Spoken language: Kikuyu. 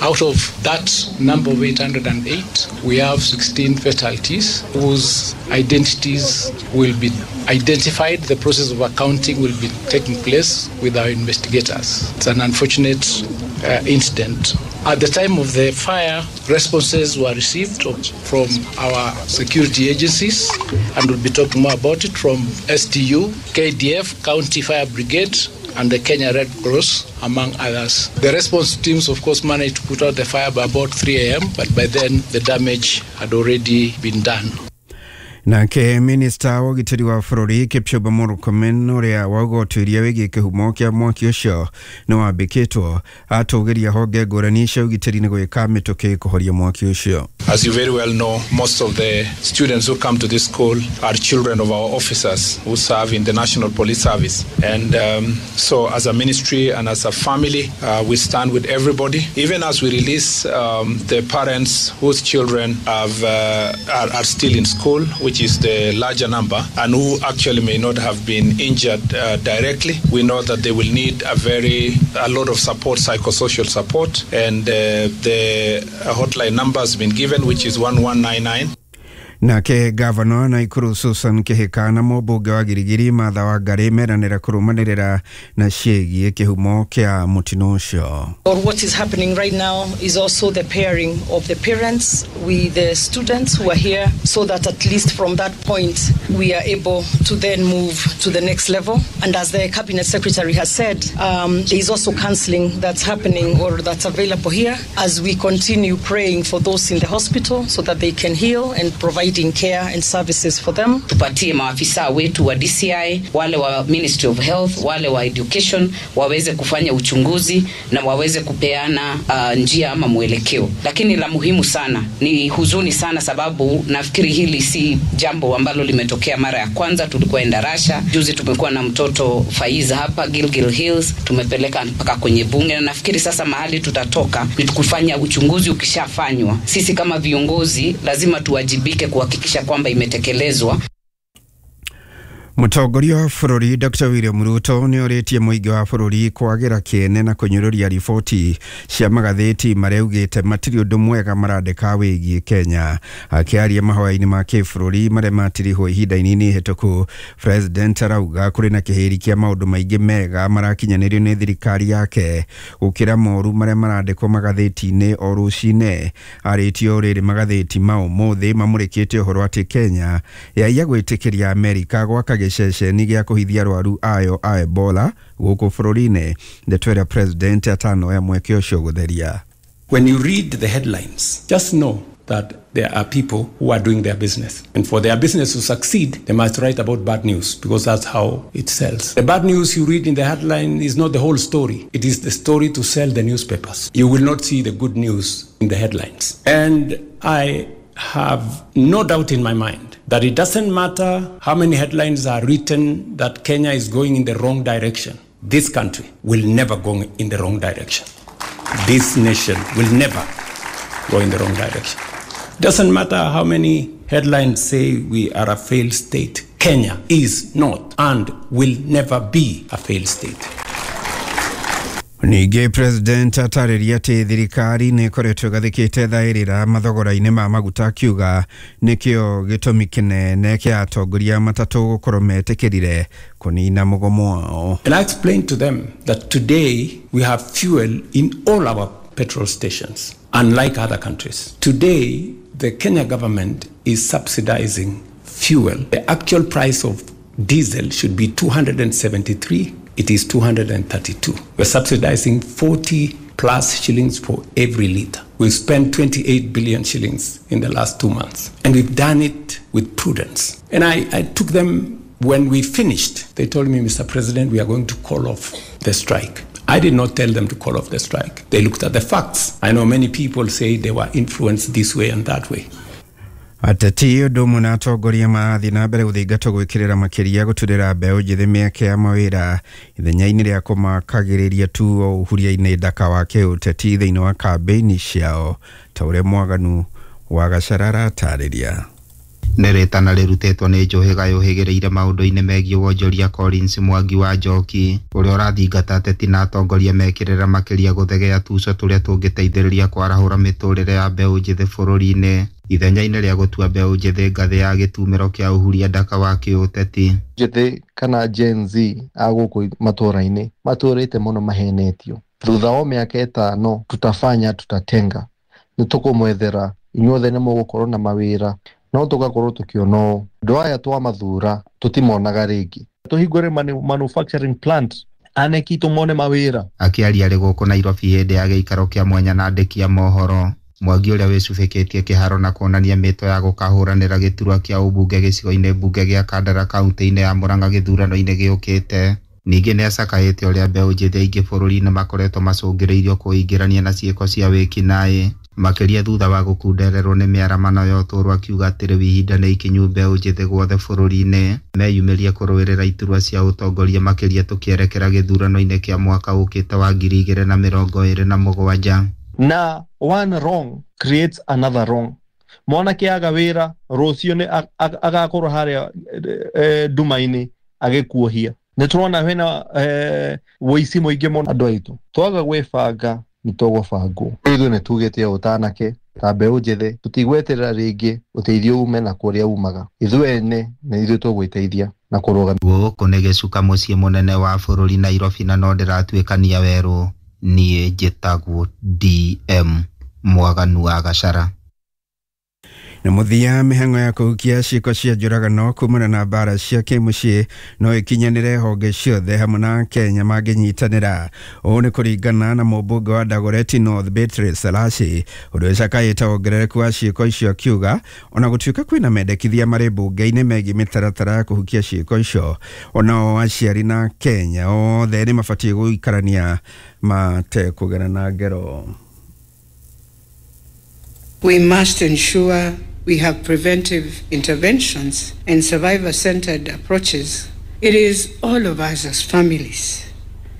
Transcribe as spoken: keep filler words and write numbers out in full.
Out of that number of eight hundred eight, we have sixteen fatalities whose identities will be identified. The process of accounting will be taking place with our investigators. It's an unfortunate uh, incident. At the time of the fire, responses were received from our security agencies, and we'll be talking more about it, from S T U, K D F, County Fire Brigade, and the Kenya Red Cross, among others. The response teams, of course, managed to put out the fire by about three a m, but by then the damage had already been done. Nake minista wa ũgitĩri wa bũrũri Kipchumba Murkomen ũrĩa wauga ũtuĩria wĩgiĩ kĩhumo kĩa mwaki ũcio nĩ wambĩkĩtwo atũgĩria honge ngũrani cia ũgitĩri nĩ gwĩka mĩtũkĩ kũhoria mwaki ũcio. As you very well know, most of the students who come to this school are children of our officers who serve in the National Police Service. And um, so as a ministry and as a family, uh, we stand with everybody. Even as we release um, the parents whose children have, uh, are, are still in school, which is the larger number, and who actually may not have been injured uh, directly, we know that they will need a very, a lot of support, psychosocial support, and uh, the hotline number has been given, which is one one nine nine. Nake gavana Naikuru Susan Kihika na mũmbunge wa Girigiri Martha Wangari meranĩra kũrũmanĩrĩra na ciĩgiĩ kĩhumo kĩa mũtino ũcio. Or what is happening right now is also the pairing of the parents with the students who are here, so that at least from that point we are able to then move to the next level. And as the cabinet secretary has said, um, there is also counseling that's happening or that's available here as we continue praying for those in the hospital so that they can heal and provide care and services for them. Tupatie maafisa wetu wa D C I, wale wa Ministry of Health, wale wa Education waweze kufanya uchunguzi na waweze kupeana uh, njia ama mwelekeo. Lakini la muhimu sana ni huzuni sana, sababu nafikiri hili si jambo ambalo limetokea mara ya kwanza. Tulikuwa Endarasha juzi, tumekuwa na mtoto Faiza hapa Gilgil Hills, tumepeleka mpaka kwenye bunge, na nafikiri sasa mahali tutatoka ni kufanya uchunguzi. Ukishafanywa, sisi kama viongozi lazima tuwajibike kuhakikisha kwamba imetekelezwa. Mũtongoria wa bũrũri Doctor William Ruto nĩ orĩtie mũingĩ wa bũrũri kwagĩra kĩene na kũnyũrũria riboti cia magathĩti marĩa augĩte matirĩ ũndũ mwega marandĩka wĩgiĩ Kenya. Akĩaria mahoya-inĩ ma kĩbũrũri marĩa matirihwo ihinda inini ihĩtũku, President arauga kũrĩ na kĩhĩri kĩa maũndũ maingĩ mega marakinyanĩrio nĩ thirikari yake gũkĩra moru marĩa marandĩkwo magathĩti-inĩ o rũcinĩ. Arĩtie o rĩrĩ magathĩti ma ũmũthĩ mamũrĩkĩte ũhoro atĩ Kenya yaiya gwĩtĩkĩria Amerika gwaka gĩceceni gĩa kũhithia arwaru ayo a Ebola gũkũ bũrũri-inĩ. Ndeto ĩrĩa President atanoya mweke ũcio gũtheria. When you read the headlines, just know that there are people who are doing their business. And for their business to succeed, they must write about bad news, because that's how it sells. The bad news you read in the headline is not the whole story. It is the story to sell the newspapers. You will not see the good news in the headlines. And I have no doubt in my mind that it doesn't matter how many headlines are written that Kenya is going in the wrong direction. This country will never go in the wrong direction. This nation will never go in the wrong direction. Doesn't matter how many headlines say we are a failed state. Kenya is not and will never be a failed state. Ningĩ President atarĩria atĩ thirikari nĩ ĩkoretwo ĩgathĩkĩte thaĩrĩra mathogora-inĩ ma maguta, akiuga nĩkĩo gĩtũmi kĩnene kĩa atongoria matatũ gũkorwo metĩkĩrire kũnina mũgomo wao. And I explained to them that today we have fuel in all our petrol stations, unlike other countries. Today, the Kenya government is subsidizing fuel. The actual price of diesel should be two hundred seventy-three. It is two hundred thirty-two. We're subsidizing forty plus shillings for every liter. We've spent twenty-eight billion shillings in the last two months. And we've done it with prudence. And I, I took them, when we finished, they told me, Mister President, we are going to call off the strike. I did not tell them to call off the strike. They looked at the facts. I know many people say they were influenced this way and that way. Ateti ũndũ ũmwe na atongoria marathiĩ na mbere gũthingatwo gwĩkĩrĩra makĩria gũturĩra mbeũ njĩthĩ mĩeke ya mawĩra ithenya-inĩ rĩa kũmakagĩrĩria tu o ũhuria-inĩ ndaka wa kĩũteti thĩinĩ wa kambĩini ciao, ta ũrĩa Mwaganu wa Gacarara atarĩria. Nĩ rĩtana rĩrutĩtwo nĩ Njũhĩga yũhĩgĩrĩire maũndũ-inĩ megiĩ wonjoria Collins Mwangi wa Njoki ũrĩa ũrathingata ateti na atongoria mekĩrĩra makĩria gũthegea tuco tũrĩa tũngĩteithĩrĩria kwarahũra mĩtũrĩre ya mbeũ njĩthĩ bũrũri-inĩ ithenya-inĩ rĩa gũtua mbeũ njĩthĩ ngathĩ ya gĩtumĩro kĩa ũhuria ndaka wa kĩũteti. Njĩthĩ kana Gen Z a gũkũ matũũra-inĩ matũrĩte mũno mahenetio. Thutha wa mĩaka ĩtano tutafanya tutatenga, nĩ tũkũmwethera inyuothe nĩ mũgũkorwo na mawĩra no tũgakorwo tũkĩona ũũ andũ aya twamathura tũtimonaga rĩngĩ. Tũhingũre manufacturing plant aneki tũmone mawĩra. Akĩaria arĩ gũkũ Nairobi hĩndĩ ya gĩikaro kĩa mwanya na andĩki a mohoro, Mwangi ũrĩa wĩcubĩkĩtie kĩharo na kuonania mĩto ya gũkahũranĩra gĩturwa kĩa ũmbunge gĩcigo-inĩ mbunge gĩa Kandara kaunti-inĩ ya Murang'a gĩthurano-inĩ gĩũkĩte. Ningĩ nĩacakaĩte ũrĩa mbeũ njĩthĩ aingĩ bũrũri-inĩ makoretwo macũngĩrĩirio kwĩingĩrania na ciĩko cia wĩkinaĩ makĩria thutha wa gũkundererwo nĩ mĩaramano ya ũtũũro, akiuga atĩ rĩu ihinda nĩ ikinyu mbeũ njĩthĩ guothe bũrũri-inĩ meyumĩrie kũrũĩrĩra iturwa cia ũtongoria makĩria tũkĩerekera gĩthurano-inĩ kĩa mwaka ũkĩte wa ngiri igĩrĩ na mĩrongo ĩrĩ na mũgwanja. Na one wrong creates another wrong. Mwanake aga wĩra rũciũ nĩ agakorwo harĩa nduma-inĩ agĩkuohia. Nĩ tũrona hena wũici mũingĩ mũno andũ aitũ. Twaga gwĩbanga nĩ tũgũbangwo. Ithuĩ nĩ tugĩte ũtanake ta mbeũ njĩthĩ tũtigweterera rĩngĩ ũteithio ume na kũrĩa umaga. Ithuĩ ene nĩ ithuĩ tũgwĩteithia na kũrũgamia. Gũkũ nĩ gĩcuka mũciĩ mũnene wa bũrũri Nairobi na no ndĩratuĩkania werũ. Niĩ njĩtagwo D M Mwaganu wa Gachara. Na mũthia mĩhang'o ya kũhukia ciĩko cia njũragano kumana na mbara cia kĩmũciĩ no ĩkinyanĩre honge ciothe hamwe na Kenya mangĩnyitanĩra. Ũũ nĩ kũringana na mũmbunge wa Dagoretti North Beatrice Salashi ũrĩa ũcakaĩte wongerereku wa ciĩko icio, akiuga ona gũtuĩka kwĩna mendekithia marĩ mbunge-inĩ megiĩ mĩtaratara ya kũhukia ciĩko icio, onao aciari na Kenya othe nĩ mabatiĩ gũikarania matekũgerana ngero. We must ensure we have preventive interventions and survivor-centered approaches. It is all of us as families,